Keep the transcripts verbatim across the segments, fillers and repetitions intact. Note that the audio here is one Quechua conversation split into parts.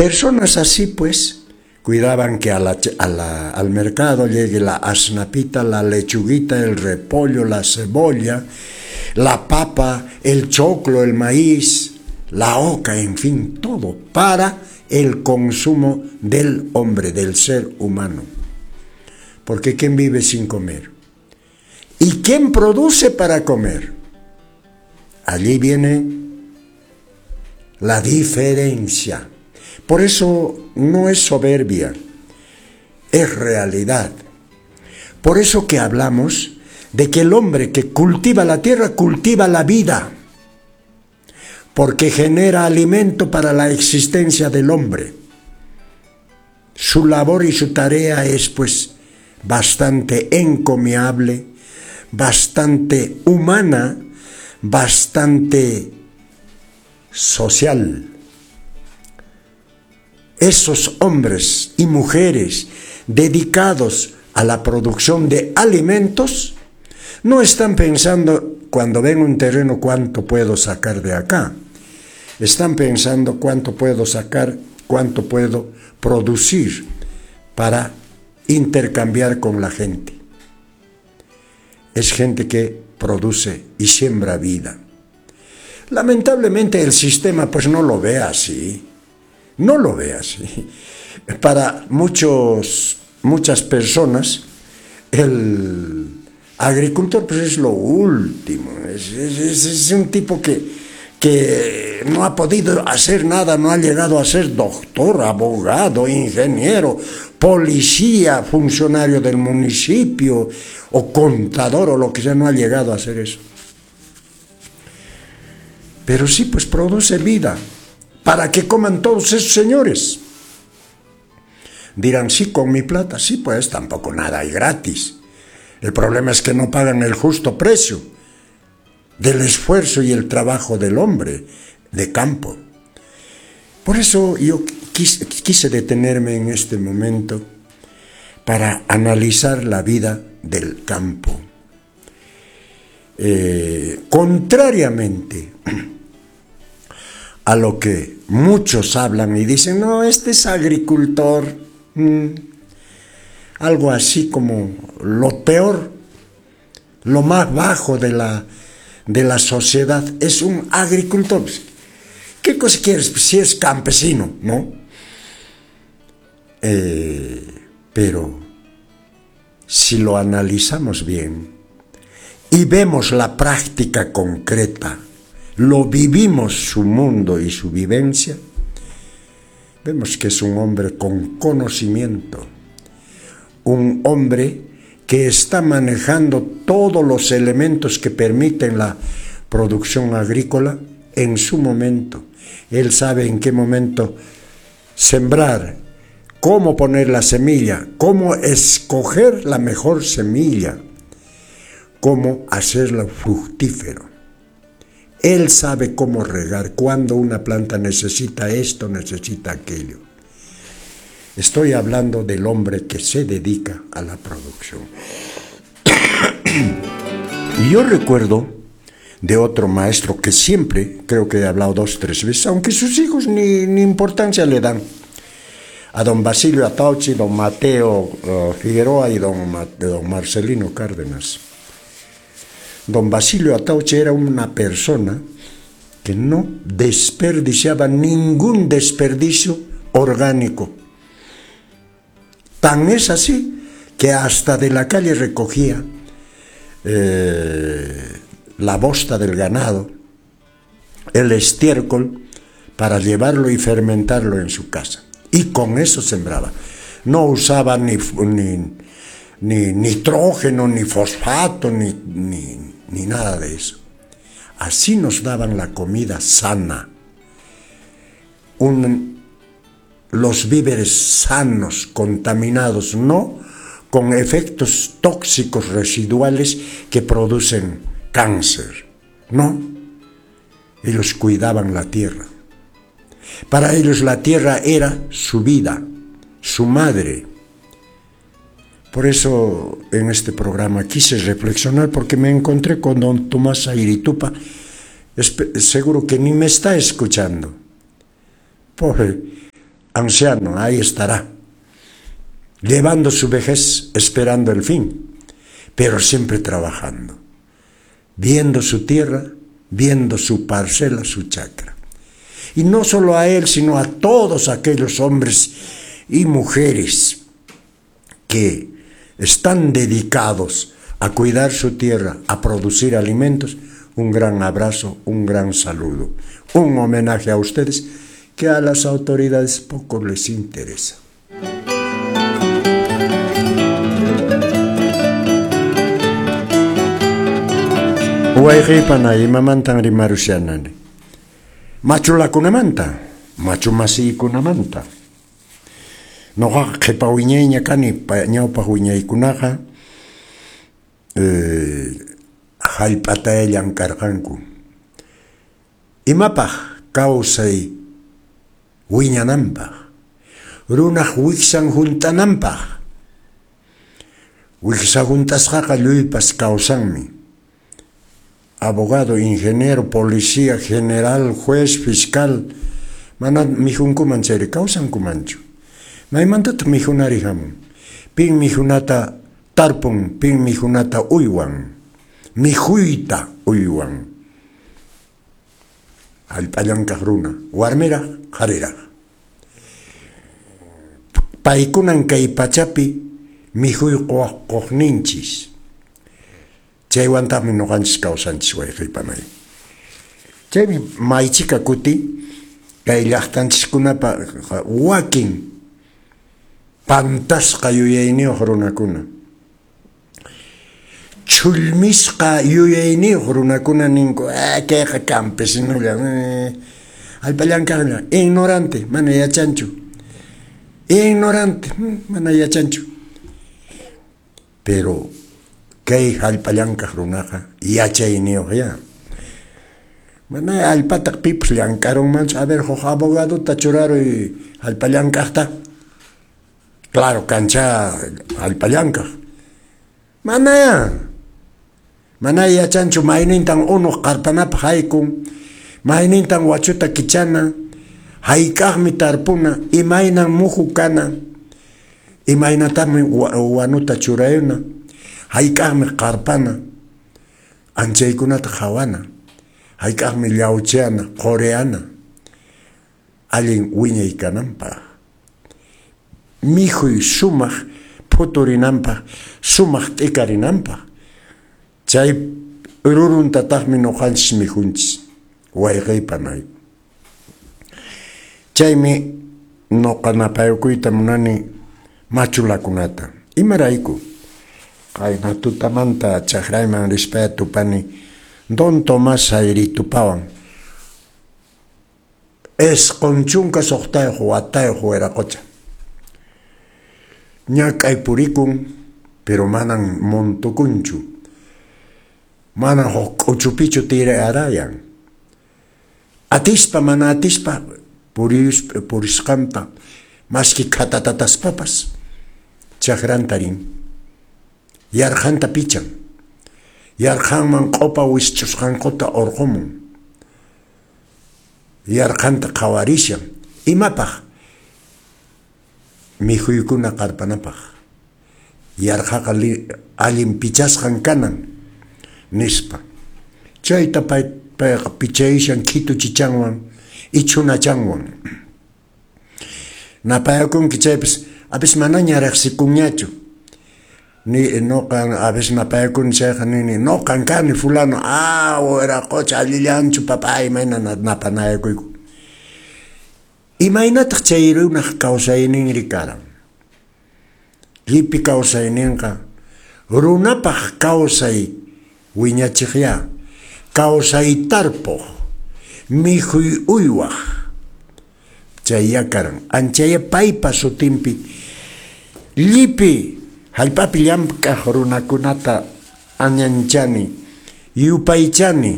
Personas así, pues, cuidaban que a la, a la, al mercado llegue la asnapita, la lechuguita, el repollo, la cebolla, la papa, el choclo, el maíz, la oca, en fin, todo para el consumo del hombre, del ser humano. Porque ¿quién vive sin comer? ¿Y quién produce para comer? Allí viene la diferencia. Por eso no es soberbia, es realidad. Por eso que hablamos de que el hombre que cultiva la tierra, cultiva la vida, porque genera alimento para la existencia del hombre. Su labor y su tarea es, pues, bastante encomiable, bastante humana, bastante social. Esos hombres y mujeres dedicados a la producción de alimentos no están pensando cuando ven un terreno cuánto puedo sacar de acá. Están pensando cuánto puedo sacar, cuánto puedo producir para intercambiar con la gente. Es gente que produce y siembra vida. Lamentablemente el sistema pues no lo ve así. No lo ve así. Para muchos, muchas personas el agricultor pues es lo último. Es, es, es un tipo que, que no ha podido hacer nada, no ha llegado a ser doctor, abogado, ingeniero, policía, funcionario del municipio o contador o lo que sea, no ha llegado a hacer eso. Pero sí, pues produce vida para que coman todos esos señores. Dirán, sí, con mi plata, sí, pues tampoco nada hay gratis. El problema es que no pagan el justo precio del esfuerzo y el trabajo del hombre de campo. Por eso yo quise, quise detenerme en este momento para analizar la vida del campo. Eh, contrariamente a lo que muchos hablan y dicen, no, este es agricultor, mm, algo así como lo peor, lo más bajo de la, de la sociedad, es un agricultor. ¿Qué cosa quieres si es campesino, no? Eh, pero si lo analizamos bien y vemos la práctica concreta, lo vivimos su mundo y su vivencia, vemos que es un hombre con conocimiento, un hombre que está manejando todos los elementos que permiten la producción agrícola en su momento. Él sabe en qué momento sembrar, cómo poner la semilla, cómo escoger la mejor semilla, cómo hacerla fructífero. Él sabe cómo regar, cuando una planta necesita esto, necesita aquello. Estoy hablando del hombre que se dedica a la producción. Y yo recuerdo de otro maestro que siempre, creo que he hablado dos, tres veces, aunque sus hijos ni, ni importancia le dan, a don Basilio Atauchi, don Mateo uh, Figueroa y don, don Marcelino Cárdenas. Don Basilio Atauchi era una persona que no desperdiciaba ningún desperdicio orgánico. Tan es así que hasta de la calle recogía eh, la bosta del ganado, el estiércol, para llevarlo y fermentarlo en su casa. Y con eso sembraba. No usaba ni, ni, ni nitrógeno, ni fosfato, ni, ni, ni nada de eso. Así nos daban la comida sana. Un, los víveres sanos, contaminados, no con efectos tóxicos residuales que producen cáncer. No, ellos cuidaban la tierra. Para ellos la tierra era su vida, su madre. Por eso en este programa quise reflexionar, porque me encontré con don Tomás Airitupa. Seguro que ni me está escuchando. Pobre, Anciano, ahí estará, llevando su vejez, esperando el fin, pero siempre trabajando, viendo su tierra, viendo su parcela, su chacra. Y no solo a él, sino a todos aquellos hombres y mujeres que están dedicados a cuidar su tierra, a producir alimentos, un gran abrazo, un gran saludo, un homenaje a ustedes que a las autoridades poco les interesa. Wayqipana imamantan rimarushanani. Machulakunamanta, machu masiykunamanta. Noqaqa qhipa wiñayña kani, ñawpaq wiñaykunaqa eh, hallp'ataya llamk'arqanku. Imapaq kawsay wiñananpaq, runaq wiksan hunt'ananpaq. Wiksa hunt'asqaqa lluypas kawsanmi. Abogado, ingeniero, policía, general, juez, fiscal, mana mikhunkuman chayri kawsankumanchu. Maymantataq mikhunari hamun? Pin mikhunata tarpun, pin mikhunata uywan, mikhuyta uywan. Hallp'a llank'aq runa, warmiraq, qhariraq. Paykunan kay pachapi mikhuy quqninchis. Chaywantaqmi ñuqanchis kawsanchis wayqipanay. Chaymi maychika kuti kay llaqtanchiskunapa wakin pantasqa yuyayniyuq runakuna, chhullmisqa yuyayniyuq runakuna ninku, ah, kayqa campesinolla, eh, hallp'a llank'aqlla, ignorante, mana yachanchu, ignorante, mana yachanchu. Pero kay hallp'a llank'aq runaqa yachayniyuq ya. Mana hallp'ataq pipas llank'arunmanchu. A ver, huk abogadota churaruy hallp'a llank'aqta. Claro, kancha hallp'a llank'aq. Mana ya. Mana yachanchu maynintan unuq qarpanapaq haykun, maynintan wachuta kichana, hayk'aqmi tarpuna, imaynan muhu kana, imaynataqmi wanuta churayuna, hayk'aqmi qarpana, anchaykunata qhawana, hayk'aqmi llawchiyana, quriyana, allin wiñay kananpaq, mikhuy sumaq phuturinanpaq, sumaq t'ikarinanpaq. Chay ruruntataqmi ñuqanchis mikhunchis, wayqiypanay. Chaymi ñuqa napayukuyta munani machulakunata. Imarayku? Qayna tutamanta chakrayman rispaya tupani Don Tomás Sayritupawan. Isqun chunka suqtayuq watayuq wiraqocha. Ñak'ay purikun, pero manan montukunchu. Manan huk k'uchupichu tirarayan. Atispa, mana atispa, puris, purisqanta, maski khatatataspapas, chakranta rin. Yarqanta pichan. Yarqanman q'upa wisch'usqankuta urqumun. Yarqanta qhawarishan. Imapaq? Mikhuykuna qarpanapaq. Yarqaqa allin pichasqan kanan, nispa. Chayta pay, payqa pichayishan khitu chichanwan, ichunachanwan. Napayakunki chaypas, apis manaña riqsikunñachu. Ni noqan a veces napayakuni chayqa nini, noqan kani fulano, ah, wiraqocha allillanchu papá, imayna napanayakuyku. Imaynataq chay runaq kawsayninri karan? Llipi kawsayninqa runapaq kawsay wiñachiqya, kawsay tarpuq, mikhuy uywaq, chayya karan. Anchaya paypa sutinpi llipi hallp'api llamk'aq runakunata añanchani, yupaychani.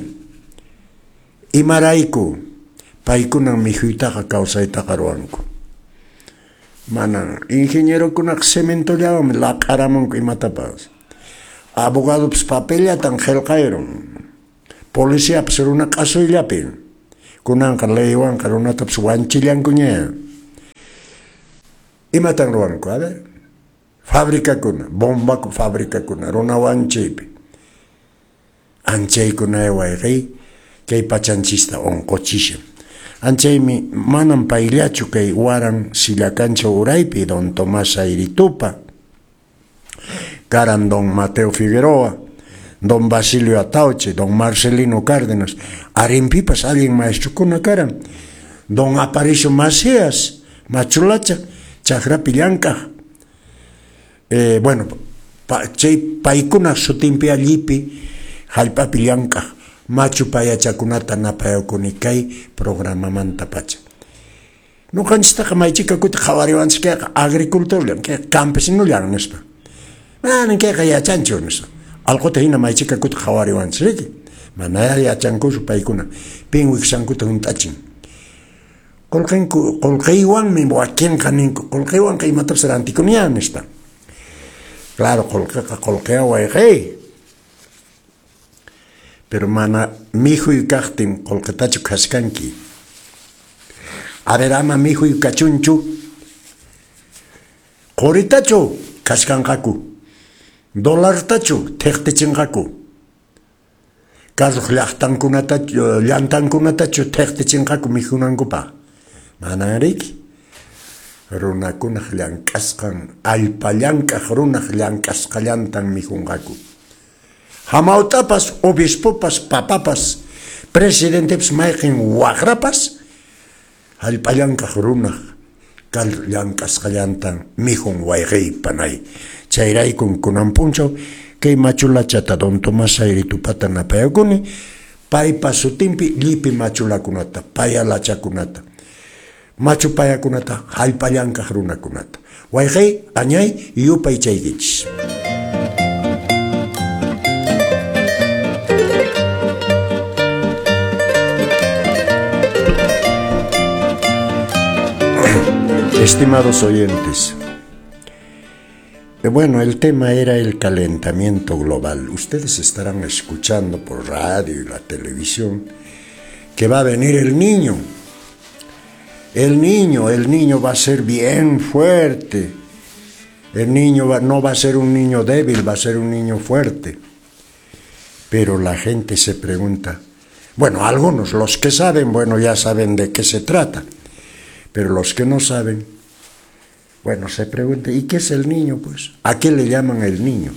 Imarayku? Paykunan mikhuytaqa kawsaytaqa ruwanku. Manan ingenierokunaqa cementollawanmi laq'aramunku imatapas. Abogadopas papellatan qillqayrun. Policiapas runa q'asuyllapi. Kunanqa leywanqa runatapas wanchillankuña. Imatan ruwanku? A ver, fabricakuna, bomba fabricakuna, runa wanchaypi. Anchaykuna wayqey kay pachanchista unquchishan. Anchaymi manam payllachu kay waran sillakancha uraypi don Tomás Ayritupa, karan don Mateo Figueroa, don Basilio Atauche, don Marcelino Cárdenas, arimpipas allin maestrukuna karan, don Aparicio Macías, machulacha, chakrapi llank'aq. Eh, bueno, pa, chay paykuna sutinpi allipi hallp'api llank'aq machu payachakunata napayakuni kay programamanta pacha. Ñuqanchistaqa maychika kuti qhawariwanchik kayqa agricultorllan, kayqa campesinollan nispa. Manan kayqa yachanchu nispa. Allquta hina maychika kuti qhawariwanchik, riki? Mana yachankuchu paykuna. Pin wiksankuta hunt'achin. Qullqinku qullqiywanmi wakinqa ninku, qullqiywanqa imatapas rantikuniya nispa. Claro, qullqiqa qullqiya wayqey. Pero mana mikhuy kaqtin qullqitachu khaskanki. A ver, ama mikhuy kachunchu. Quritachu khaskanqaku. Dolartachu thiqtichinqaku. Carruq llaqtankunatachu, llantankunatachu thiqtichinqaku mikhunankupaq. Manan riki. Runakunaq llank'asqan, allpa llank'aq runaq llank'asqallantan mikhunqaku. Hamawtapas, obispopas, papapas, presidentepas, mayqin waqrapas, hallp'a llank'aq runaq kal llank'asqallantan mikhun wayqey panay. Chayraykun kunan p'unchaw kay machulachata don Tomás Ayritupata napayakuni, paypa sutinpi llipi machulakunata, payalachakunata, machu payakunata, hallp'a llank'aq runakunata. Wayqey, añay, yupaychaykichis. Estimados oyentes, bueno, el tema era el calentamiento global. Ustedes estarán escuchando por radio y la televisión que va a venir el niño. El niño, el niño va a ser bien fuerte. El niño va, no va a ser un niño débil, va a ser un niño fuerte. Pero la gente se pregunta, bueno, algunos, los que saben, bueno, ya saben de qué se trata. Pero los que no saben, bueno, se preguntan, ¿y qué es el niño, pues? ¿A qué le llaman el niño?